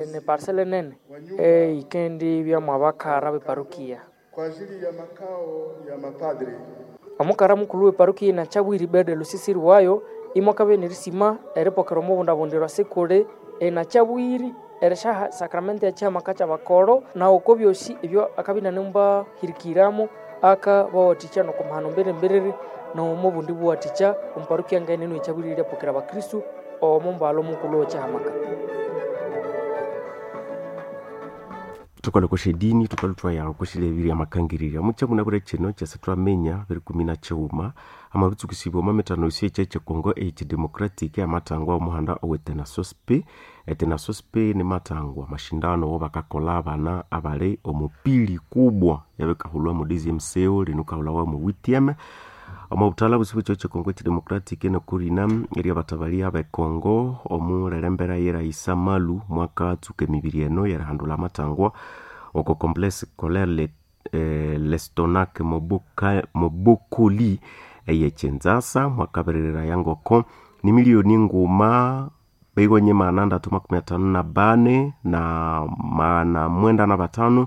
Ni parcela nene eyikendibya mwabakara b'eparokia. Kwa ajili ya makao ya mapadri. Omukara mukulhu w'eparokia y'eNakyabwiri Bede Lusisiri wayo imwakabya nerisima eripokera omubundabundirwa sikuli eNakyabwiri erisyaha sacramento y'ekihamaka ky'abakoro na oko byosi ebyo akabya inanemubahirikiramu akabawathikya n'okumahano mbiri-mbiriri n'omo bundi buwathikya omu parokia ngaene enu ekyabwiri eryapokera abakristu omo mbalho mukulhu w'ekihamaka. Thukalhwa okwa syadini thukalhwa ithwaya okwa syalhabirya amakangirirya mukyabunabwire kino kyasa thwaminya 2019 amabitsukusibwa omwa mithano yosi ekyekye Congo eyekyi democratic amathangwa omuhanda owe Tenasosp. Etenasosp nimathangwa amashindano awabakakolha abana abali omupili kubwa yabikahulhwa mu DMCO lino yikahulhawa mu WTM. Omo buthalha bosi bwe kyihugho kye Congo ekye democratic nokurina eryabathabalya abe Congo omulere yeraisa Malu mwakatsuka emibiri eno yerihandulha amathangwa oko complexe scolaire Lestonac Mobokoli eye Kinshasa mwakabiriraya ngoko nimiliyoni nguma beyiwenye 354 na 905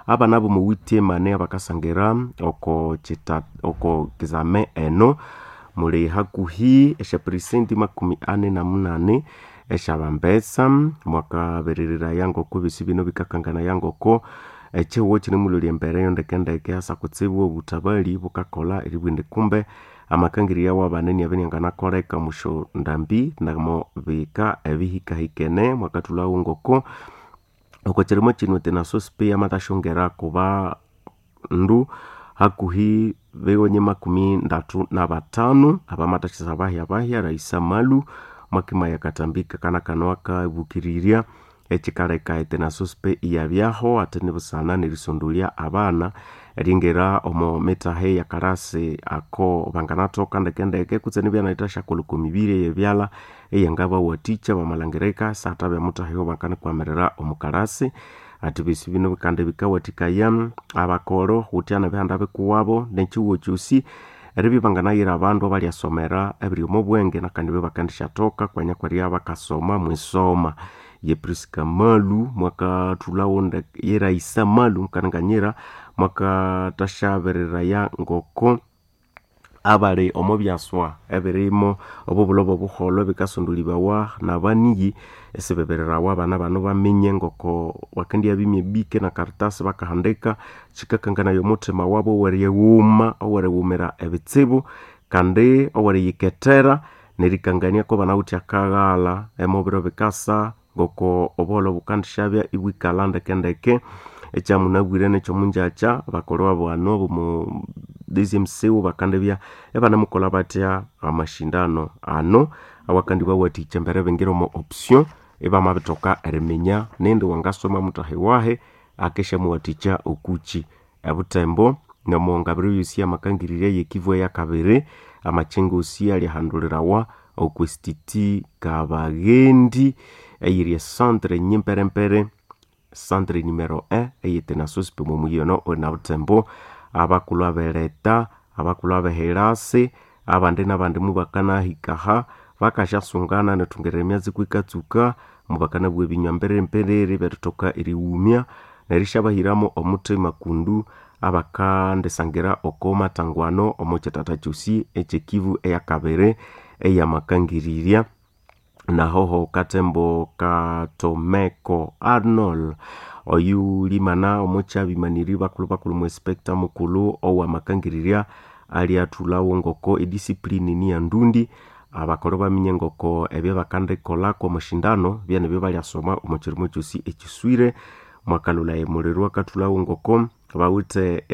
abana bomu WTM abakasangira oko oko kizame eno muli hakuhi esya percent 48 esyabambesa mwakabiriraya ngoko ebyosi bino bikakanganaya ngoko ekyihugho kyinemulholya embere yo ndekendeke hasa kutsibu obuthabali bukakolha eribugha indi kumbe amakangirya wabana iniabya inianganakoleka omusyondambi namo bika ebihikahikene mwakathulhawo ngoko oko kyirimo kino Tenasosp yamathashongera kubandu hakuhi bewenye 35 abamathasisa bahya-bahya Raisa Malu mwakimaya akatambi kakana kano akabukirirya ekikaleka eTenasosp iyabyaho ate nibusana nerisondolya abana eringira omo mitahe eyakalasi ako banganathoka ndekendeke kutse nibya inayithasyakolha oko mibiri eyebyalha eyangabawathikya bamalhangirika isathabya muthahi owabanganikwamirira omu kalasi. Ati ebyosi bino kandi bikawathikaya abakolho ghuthya nebihanda bikuwabo nekyihugho kyosi eribya ibanganayira abandu abalyasomera ebiri omo bwenge nakandi ibabakendishyathoka kwanya kweribya bakasoma mwisoma. Ye Prisca Malu mwakathulhawo ye Raisa Malu mukananganyira mwakathasyabiriraya ngoko abali omo byaswa ebirimo obubulho bobuholho ebikasondolibawa nabaniyi isibibirirawa abana bano baminye ngoko bakendyabimya ebike na karatasi bakahandika. Kyikakanganaya omuthima wabo owerighuma owerighumira ebitsibu kandi oweriyikethera nerikangania kubanawithe akaghalha emubiro bikasa ngoko obuholho bukandisyabya ibwikalha ndekendeke. Ekyamunabwire nekyomungyakya abakolho abano abomu DMCU bakandibya ibanemukolha bathya amashindano ano awakandibawathikya embere ibingira omo option ibamabithoka eriminya nindi wangasoma muthahi wahi akisyamuwathikya okukyi. Ebuthembo nomongabiro yosi amakangirirya eyekivu eyakabiri amakyengo osi alyahandulirawa okwa institute Kabaghendi eyiri ecentre nyimperempere centre numero 1 eye Tenasosp omuyi ono onabuthembo. Abakulhu abereta, abakulhu abehirasi abandi nabandi mubakanahikaha bakasyasungana nethungerera emyatsi kwikatsuka mubakanabugha ebinywa mbiriri eby'erithoka erighumya nerisyabahiramu omuthima kundu abakandisangira oko mathangwano omo kyithatha kyosi ekyekivu eyakabiri eyamakangirirya. Nahoho kathembo Katomeko Arnold oyulimana omukyabimaniri bakulhu-bakulhu mu inspector mukulhu owamakangirirya alyathulhawo ngoko ediscipline niyandundi abakolho baminye ngoko ebyabakandikolha kwamashindano byanebyo balyasoma omo kyirimo kyosi ekyiswire. Mwakalhulaya emuliro akathulhawo ngoko bawithe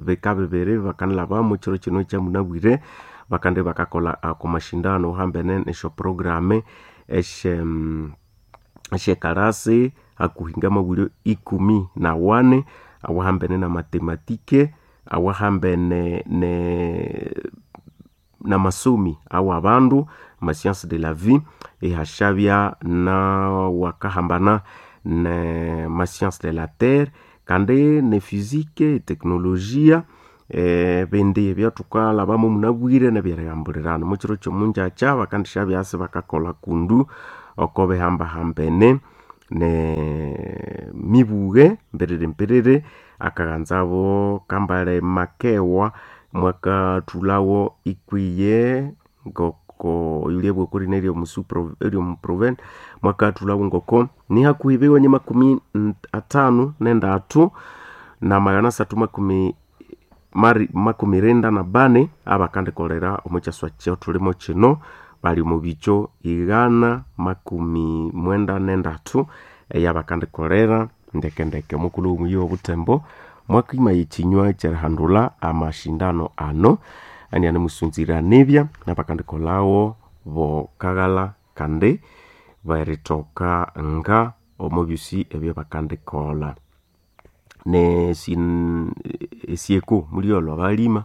bika bibiri bakanilhabamu kyiro kino ekyamunabwire bakandi bakakolha ako mashindano hambene nesyo program esyekalasi hakuhi ngamabulyo 14 awahambene na matematike awahambene namasomi awabandu ama science de la vie ihasyabya nawakahambana ne ma science de la terre kandi ne physique, eteknologia ebindi ebyathukalhabamu munabwire nebyerighambulirana. Mukyiro kyomungyakya bakandisyabya hasi bakakolha kundu oko bihambahambene. Ne mibuge mperere mperere akaghanzabo kambale makewa mwakathulhawo ikwiye ngoko yulia bwekuri neryo muproven mwakathulhawo ngoko ni hakuhi biwenye 53 na 300 makumi rinda na bane abakandikolera omo kyaswa kyotulimo kino bali omu bikyo 193 eyabakandikolera ndekendeke. Omukulhu w'omuyi w'obutembo mwakima ekinywa kyerihandulha amashindano ano anianamusunzira nibya nabakandikolhawo bokaghalha kandi berithoka nga omo byosi ebyabakandikolha. Esyeku mulyolho abalima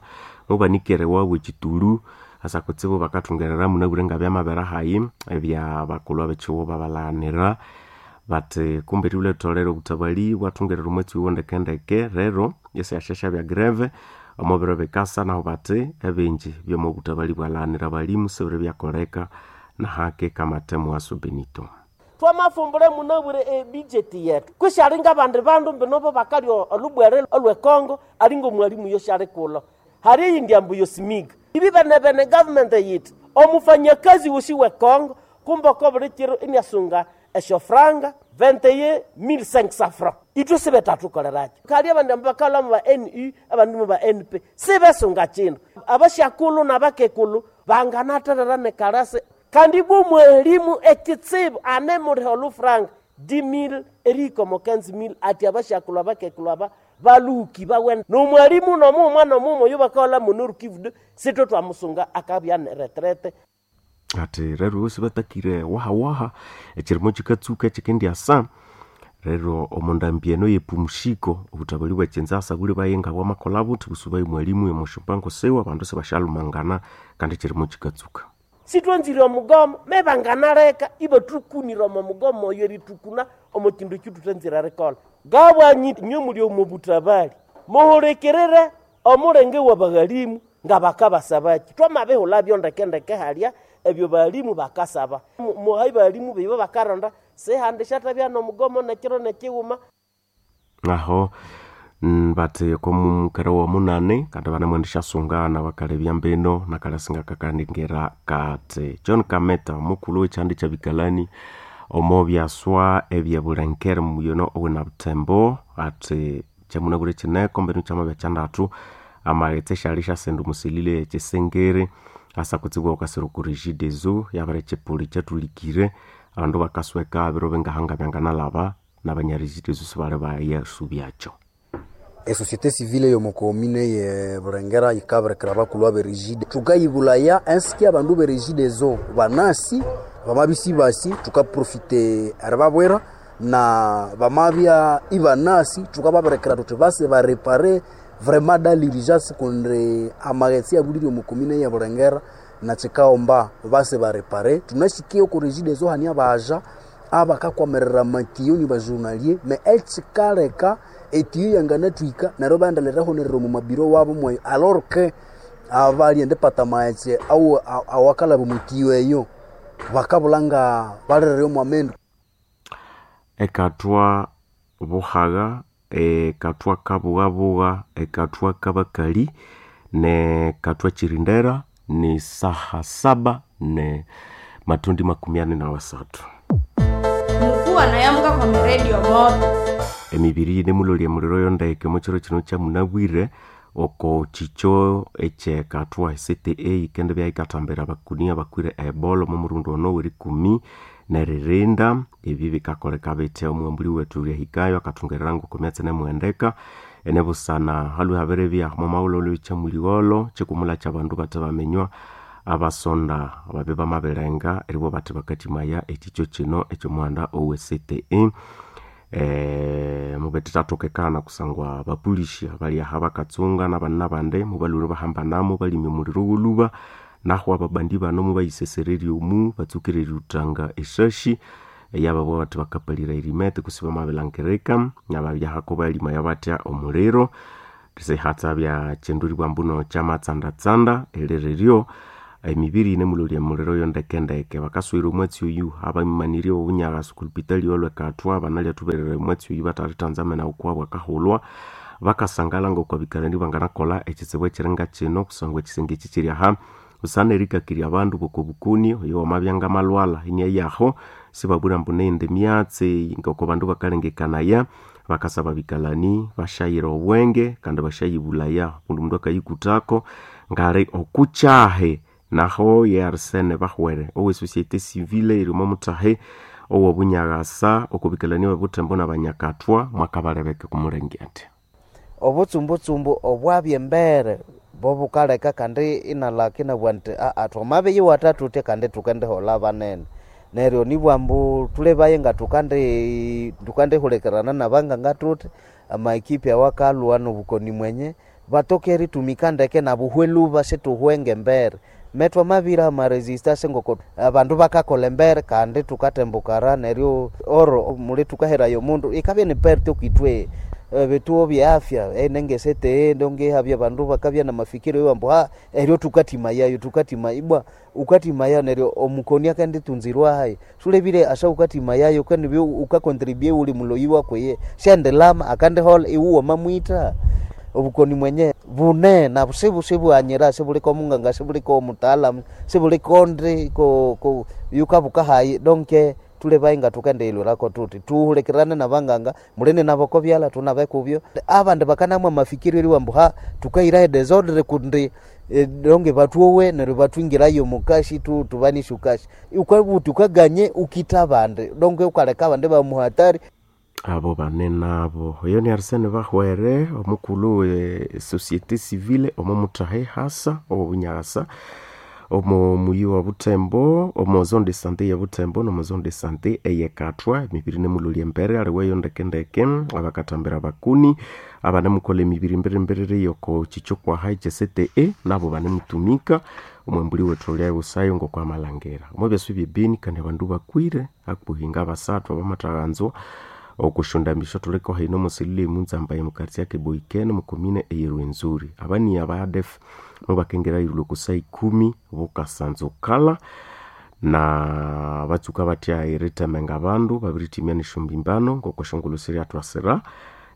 mubanikere wabu ekitulu asa kutsibu bakathungerera munabwire ngabyamabere hayi ebya bakulhu abekighughu babalaghanira bathi kumbe eribulha eritholere obutabali bwathungerera omwatsi oyo ndekendeke. Rero esyasya syabya greve omo biro bikasa nahu bathi ebingi byomo butabali bwalaghanira abalimu sibiri byakoleka nahake kamate mughaso Benito. Twamafumbule munabwire ebudget yetu kushalinga abandi bandu mbinobo bakalya olubwere olwekongo alinga omwalimu yoshalikulho hari eyindi ambu yosimiga ibi bene bene government yithi omufanyakazi wosi wekongo kumbe oko buli kiro iniasunga esyofranga 21500 francs ithwe sibethathukolerakyo kali abandi ambu bakalha mu ba NU abandi mu ba NP sibesunga kindu abasyakulhu nabakekulu banganatherera nekalasi kandi bwo mwalimu ekitsibu anemuliha olufranga 10000 erihika omo 15000 ati abasyakulhu abakekulu aba baluhuki bawene nomwalimu nomuma nomuma oyo bakaholha munorukivude sithwe twamusunga akabya neretrete. Ati rero bosi batakire wahawaha ekirimo kikatsuka ekikendyasa rero omundambi eno yepumshiko obutabali bwekinzasa buli bayenga bwamakolha buthi busubaye mwalimu yomushimbango siwe abandu sibashalumangana kandi ekirimo kikatsuka. Sithwanzire omugomo mebanganaleka ibathukunira omo mugomo oyo eritukuna omo kindu ekithuthanzire erikolha. Ngabwanyi inywe muli omo butabali muhulikirire omulenge w'abaghalimu ngabakabasabaki twamabihulhabyo ndekendeke halya ebyo balimu bakasaba muhayi balimu bibo bakaronda sihandi syathabya nomugomo nekiro nekighuma. Aho bathi okomukere womunani kandi banemwendisyasunga bakalebya mbino nakalasinga kakandingira kathi John Kameta omukulhu w'ekyandi kyabikalani omo byaswa ebyebulenkere muyono owina butembo athi kyamunabwire kineko mbino kyamabya kyandathu amaghetse syali syasenda omusilile ekyisengere asa kutsibu okasira oku Regideso yabere ekyipuli kyathulikire abandu bakasweka biro bingahanga byanganalhaba nabanya Regideso sibali bayasubyakyo. Esociété civile yomukomine ye Burengera yikabirekera abakulhu abe Regide thukayibulaya ensiki abandu be Regideso banasi bamabya basi thukaprofite eribabwira na bamabya ibanasi thukababirekera thuthi base barepare vraiment dans l'urgence kundi amaghetse abulire omukomine ye Burengera nakikaghomba base barepare. Thunashikiye oku Regideso hane abaja abakakwamirira amatiyo ni bajournalier me ekikaleka etiyo yanganathwika neryo ibaghenda omu mabiro wabo mweyo alors que abalyenda ipata amaghetse awakalhaba omwitiyo eyo bakabulha nga balirire omwamendu. Ekathwa buhagha, ekathwa kabughabugha, ekathwa kabakali nekathwa kirindera ni saha saba ne matundi 43. Mukuwa nayamuka kwa miredio moto. Emibiri yinemulolya emuliro yondeke omukiro kino kyamunabwire oko kikyo ekyekathwa CTA yikendibya yikathambira abakuni abakwire ebola omo murundi ono werikumi neririnda. Ebi bikakoleka bithi omughambuli wethu ryahikayo akathungerera ngoko myatsi nemuhendeka enebusana halwe habiribya omo maghulhu kyamuligholho kyikumulha kyabandu bathe baminywa abasonda ababi bamabirenga eribwa bathi bakathimaya ekikyo kino ekyomuhanda owe CTE. Mubethethathokekana kusangwa abapolisi abali aha bakatsunga nabandi nabandi mubalhwire bahambanamo balimya omuliro wolhuba nahu ababandi bano mubayisesererya omu batsukire eriwuthanga eshashi eyababugha bathi bakapalira erimete kutse bamabilhangirika nababyahako balimaya batya omuliro sihatsa bya kyindu eribugha mbuno kyamatsandatsanda eririryo Emibiri inemulolya emuliro yo ndekendeke. Bakaswira omwatsi oyu abamanirye obunyagasa oku lupitali olwekathwa banalya thuberera omwatsi oyu batalithanzamena okwabo akahulwa. Bakasangala ngoko abikalani banganakolha ekitsibu ekiringa kino kusangwa ekisenge eki kiri aha busana erikakirya abandu bokobukoni. Oyo wamabya ngamalhwalha iniayaho sibabwira ambu neyindi myatsi ngoko bandu bakalengekanaya. Bakasaba abikalani bashayira obwenge kandi bashayibulaya kundi omundu akayikuthako ngali okukyahi. Naho ye Arsene Bahwere owe société civile eri omo muthahi owobunyagasa okobikalani bebuthembo nabanyakathwa mwakabalebeka okumulenge athi Obutsumbutsumbu obwabya embere bobukaleka kandi inalaka inabugha nti aa twamabiyiwatha thuthya kandi thukendiholha banene. Neryo nibugha ambu thulebaye nga thukandihulikirana nabanganga thuthi amaekipi awakalhwa nobukoni mwenye batoke eritumika ndeke nabuhwe lhuba sithuhwe ngembere. Metwamabira amaresistance ngoko abandu bakakolha embere kandi thukatembukara neryo oro muli thukaheraya omundu ikabya ni perte okwithwe. Ebituo bye afya enengesete ndonge habya abandu bakabya namafikiro iwa ambu eryo thukathimayayo thukathima ibwa ukathimaya neryo omukoni akenditunzirwa hayi. Sulebire asa ukathimayayo kandi ukakontribue ghuli muloyi wakwiye syandilama akandiholha iwe wamamwitha. Obukoni mwenye bune nabu sibughanyira sibuliko omunganga sibuliko omutaalamu sibuliko ndi yukabuka hayi donke thulebaye nga thukendiyilhwirako thuthi thuhulikirane nabanganga mulini nabo okobyalha thunabe kubyo. Abandi bakanamwa amafikiro eriwa ambu thukahirayo desordre kundi donge bathuowe neryo bathwingirayo omukashi thubanisye okashi. Ukabugha wuthi wukaganye ukitha abandi donge wukaleka abandi ibamuhatari. Abo bane nabo oyo ni Arsene Bahwere omukulhu we société civile omo muthahi hasa owobunyagasa omo muyi wa Buthembo omo zone de santé ye Buthembo nomo zone de santé eyekathwa. Emibiri inemulolya embere aliweyo ndekendeke abakathambira abakuni abanemukolha emibiri mbirimbiriri yoko kyikyokwaha ekye CTE nabo banemutumika omwambuli wethu olya ghusayo ngoko amalhangira. Omo byasi byebeni kandi abandu bakwire hakuhi ngabasathu abamathaghanzwa okusyondambisyo thuliko hino omo selule emunzamba omu quartier ya Keboikene omu commune eye Rwenzori. Abaniya aba ADF mubakengeraya erilhwa oko saa ikumi bukasanzukala na batsuka bathya eritemenga abandu babirithimya nesyombimbano ngoko esyongulhu siryathwasira.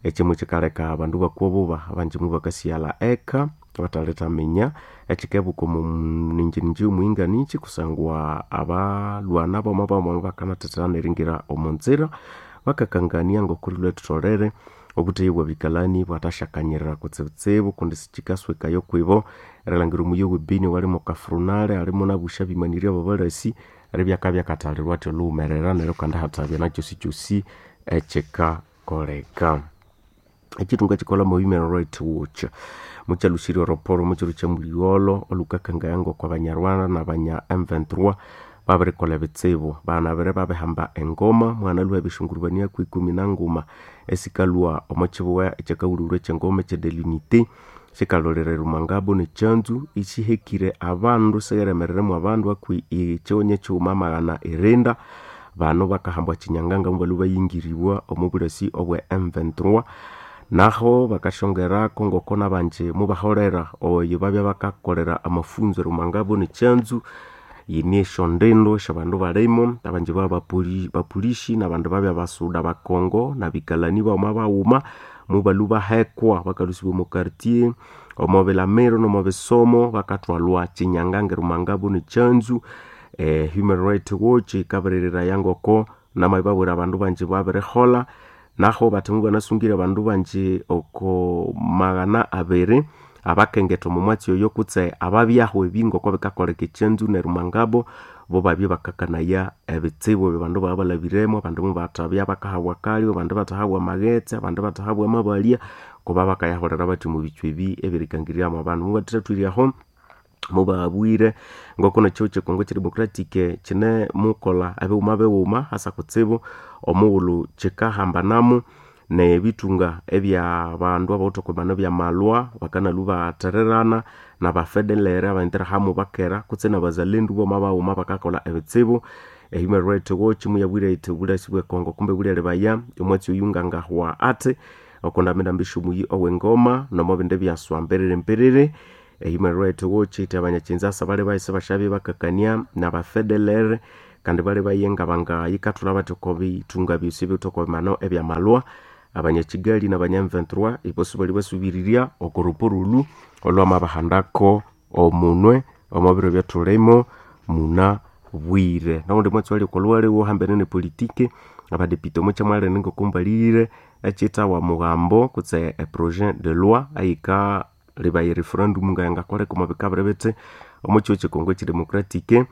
Ekyimwe kyikaleka abandu bakwa obuba abanji mubakasighalha eka bathalithaminya ekyikebuka omo ninjininji yomuhinganikyi kusangwa abalhwana bamabamwa bakanathethana neringira omunzira bakakangania ngokurilhwa thutholere obutheya bwabikalani bwathasyakanyirira kutsibutsibu kundi sikyikaswekayo okwibo erilhangira omuyi owebeni owali mukafurunale alimu nabusya abimanirye ababalasi eribya akabya akathalirwa athi olhughumerera neryo kandi hathabya nakyosikyosi ekyikakoleka. Ekyithunga kyikolha mo Human Rights Watch mukyalusirye oroporo mukyiro kyamuligholho olhukakangaya ngoko abanyarwanda nabanya M23 babirikolha ebitsibu. Banabire babihamba engoma mwanalhwa ebishungurubania kwikumi nanguma esikalhwa omo kyibugha ekyakahulhulhwa ekyengoma ekye de l'unité sikalholera erumangabo nekyanzu isihekire abandu sigheremereremu abandu hakuhi ekyonyi kyighuma amaghana irinda. Bano bakahambwa kyinyanganga mubalhwa bayingiribwa omo bulasi obwe M23 naho bakasyongerako ngoko nabanji mubaholera oyo babya bakakolera amafunzo erumangabo nekyanzu. Yine esyondindu esyabandu balimo abanji babya bapolisi nabandu babya basuda bakongo nabikalani baghuma baghuma mubalhwa bahekwa bakalhusibwa omo quartier omo bilamiro nomo bisomo bakathwalwa kyinyanganga erumangabo nekyanzu. Human Rights Watch yikabiriraya ngoko namabibabwira abandu banji babiriholha naho bathi mubanasungire abandu banji oko maghana abiri abakengetha omo mwatsi oyo kutse ababyahu ebi ngoko bikakoleka ekyanzu nerumangabo bo babya bakakanaya ebitsibu ebyo abandu babalhabiremu. Abandu mubathabya bakahabwa akalyo abandi bathahabwa amaghetse abandi bathahabwa amabalya kuba bakayaholera bathi omo bitswa ebi ebirikangiryamu abandu. Mubathathathwiryaho mubabwire ngoko nekyo kyekongo kyedemocratic kyinemukolha ebighuma bighuma hasa kutsibu omughulhu kyikahambanamu nebithunga ebya bandu abawithe okwimana ebyamalhwa bakanalhwa bathererana nabafedelere abainterahamwe bakera kutse nabazalendu boma baghuma bakakolha ebitsibu. Human Rights Watch muyabwire yithi obulasi bwekongo kumbe bulyalebaya omwatsi oyu ngangahwa athi okondambendambi esyomuyi owengoma nomobindi byaswa mbiriri mbiriri. Human Rights Watch ite abanyachinzasa bali bahise bashabye bakakania na bafedeler kandi bali bayenga bangayikathula bathi oko bitunga byosi biwithe oko bimano ebyamalwa abanyakigali nabanya M23 ibosi bali basubirirya oko ruporulu olwamabahandako omunwe omo biro byathulimo muna bwire nowundi mwatsi wali okolwaliwo hambene ne politiki abadepite omo kyamwalene ngokumbalirire ekyithawa mugambo kutse eprojet de loi ayika libaya referendum ngayangakoleka omo bikabiri bithi omo kihugho kyekongo ekidemocratic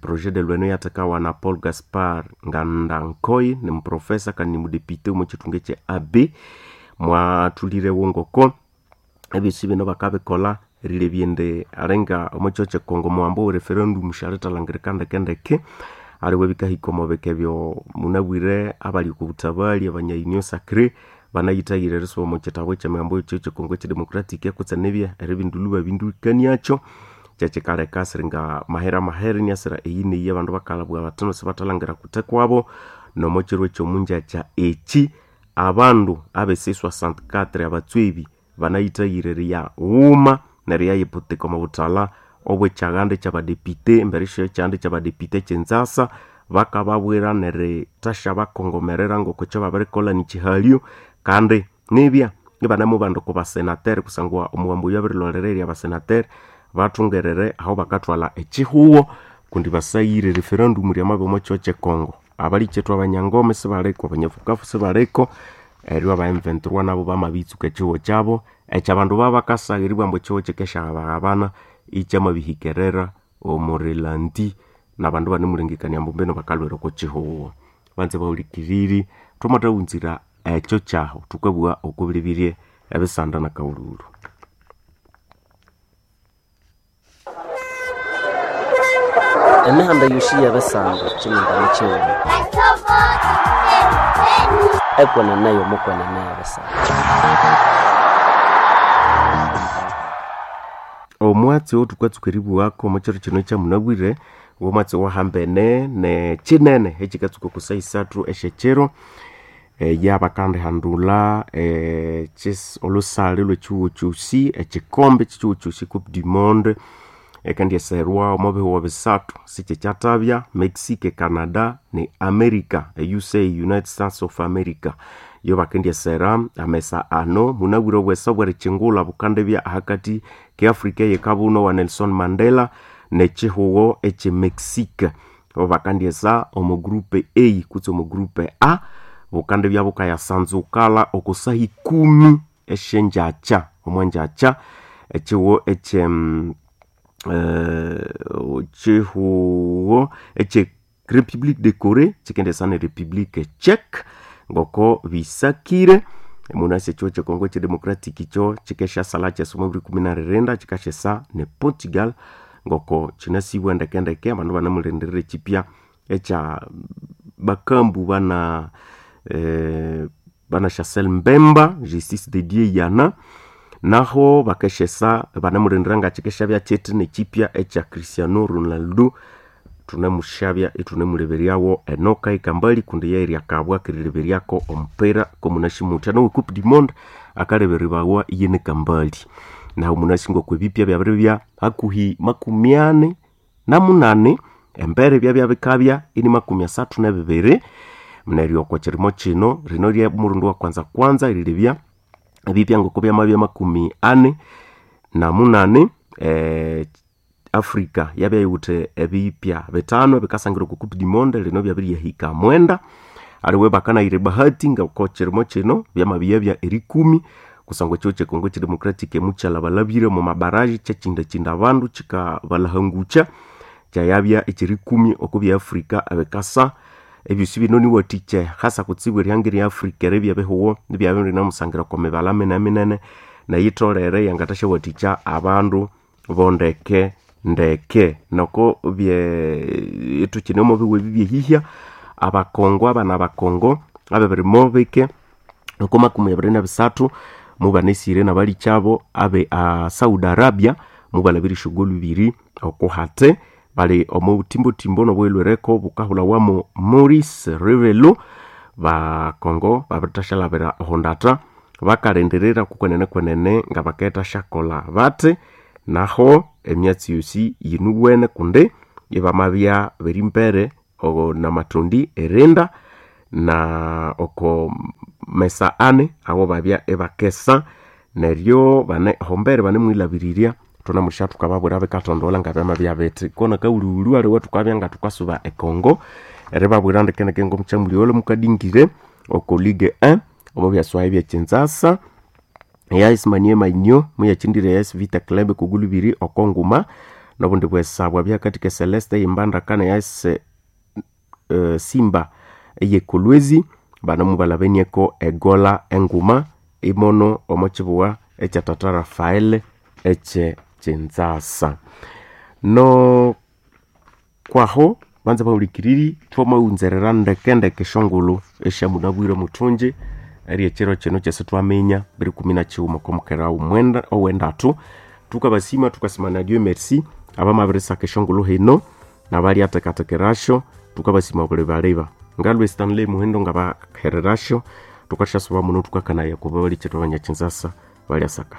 projet de loi eno yathekawa na Paul Gaspar Ngandankoi ni muprofesa kandi ni mudepite omo kithunga ekye AB mwathulirewo ngoko ebyosi bino bakabikolha erilebya indi alinga omo kihugho kyekongo omuwambo we referendum syalithalangirika ndeke aliwe bikahika omo bika ebyo munabwire abali oko buthabali abanya union sacrée banayithayire erisuba omo kitabu ekyemihambo ekihugho kyekongo ekyidemocratic kutse nibya eribindulhu babindukaniakyo kyekikaleka siringa mahera mahere iniasira eyi neyi abandu bakalhabugha bathi no sibathalangira kuthe kwabo nomo kiro ekyomunjakya eki abandu abe C64 abatswebi banayithayire eriya ghuma neryayiputika omo buthalha obwekyaganda ekyabadepite embere syekyanda ekyabadepite ekyenzasa bakababwira nerithasya bakongomerera ngoko ekyobabirikolha nikihalyo kandi nibya ibanemubanda oko basenateri kusangwa omuwambo oyo abirilholera erya basenateri bathungerere aho bakathwalha ekihugho kundi basayire referendum ryamabya omo kihugho kyekongo abalikyethu abanyangoma sibaliko abanyafukafu sibaliko eryo aba M23 nabo bamabitsuka ekihugho kyabo ekyabandu babakasagha eribugha ambu ekihugho kikesyahabaghabana ikyamabihikerera omurilandi nabandu banemulengekania ambu mbino bakalhwira oko kihugho banze bahulikiriri thwamathawunzira ekyo kyahu thukabugha oko bilebirye ebisanda nakaghulhulhu. Emihanda yosi y'ebisanda kyiningana kyighuma ekwenene y'omukwenene y'ebisanda. Omwatsi owothukatsuka eribughako omo kiro kino ekyamunabwire womwatsi owahambene nekyinene ekyikatsuka oko saha isathu esyekyiro yabakandihandulha olhusale lhwekihugho kyosi ekikombe kyekihugho kyosi coupe du monde ekandyesirwa omo bihugho bisathu sikyekyatabya Mexico, Canada ne America e USA United States of America yo bakendyesera amesa ano munabwire obwesa obwerikyingulha bukandibya ahakati ke Africa eyekabuno wa Nelson Mandela nekihugho ekye Mexico bo bakandyesa omo group A kutse omo group A bukandibya bukayasanzukala oko saha ikumi esyengyakya omwangyakya ekihugho ekye ekihugho ekye Republique de Corée kyikendyesa ne Republique Czech ngoko bisakire munasi ekihugho kyekongo ekyidemocratic kyo kyikesyasala kyesa omo 2024 kyikasyesa ne Portugal ngoko kyinasibwa ndekendeke abandu banamulindirira ekyipya ekya bakambu bana bana Chancel Mbemba Justice de Dieu yana naho bakasyesa banamulindirira ngakyikesyabya kyithi nekyipya ekya Cristiano Ronaldo thunemushabya ithunemuleberyawo enoka ikambali kundi yeryakabwa kerileberyako omupira komunashimutya nowe coupe du monde akalebererwawa iyene kambali naho munasi ngoko ebipya byabiribya hakuhi 48 embere byabya bikabya ini 32 neryo oko kirimo kino rino rye murundi wa kwanza kwanza erilebya ebipya ngoko byamabya 48 Africa yabya yiwithe ebipya bitano ebikasangira oko coupe du monde lino byabiryahika 9 aliwe bakanayira ebahati ngoko kirimo kino byamabiyabya erikumi kusangwa ekihugho kyekongo ekyidemocratic mukyalhabalhabire omo mabaraji kyakyindakyinda abandu kyikabalhangukya kyayabya ekyerikumi oko bya Africa ebikasa ebyosi bino niwathikya hasa kutsibu erihanga erya Africa eribya ebihugho ibyabya binamusangira oko mibalha minene neyitholere yangathasyawathikya abandu bondeke ndeke noko bye ithukine omo bihugho ebi byehihya abakongo abana abakongo abebirimo bike oko 23 mubanesire nabalikyabo abe a Saudi Arabia mubalabira esyogolu ibiri oko hate bali omo butimbotimbo nobwelwereko bukahulhawamu Maurice Revelo bakongo babirithashalabira ohondata bakalindirira kukwenene kwenene nga bakethasyakolha bathi Naho emyatsi yosi yinuwene kundi ibamabya beri mbere namatondi erinda na oko mesa ane abo babya ibakesa neryo bane hombere banemwilabirirya thunamusha thukababwira bikathondola ngabyamabya bithi kona kaululu aliwe thukabya nga thukasuba ekongo eribabwira ndekendeke ngomukyamuli mukadingire oko ligue 1 omo byaswayi byekinzasa eyas Maniema Union muyakindire AS Vita Club kugulu ibiri oko nguma nobundi bwesabwa byakatika Celeste yimbandaka ne AS Simba eyekolwezi bano mubalabenieko egola enguma imono omo kibuwa ekya tata Rafael ekye kinzasa. No kwaho banza bahulikiriri thwamawunzerera ndekendeke eshongolo esyamunabwire muthungi eri ekiro kino kyesi twaminya 2019 okomukera owendathu tukabasima tukasima na Dieu merci abamabirisaka eshongolo hino nabalyathekathekerasyo tukabasima buli baliba ngalwe Stanley Muhindo ngabahererasyo tukasyasuba muno tukakanaya kuba balikyetu abanyakinzasa balyasaka.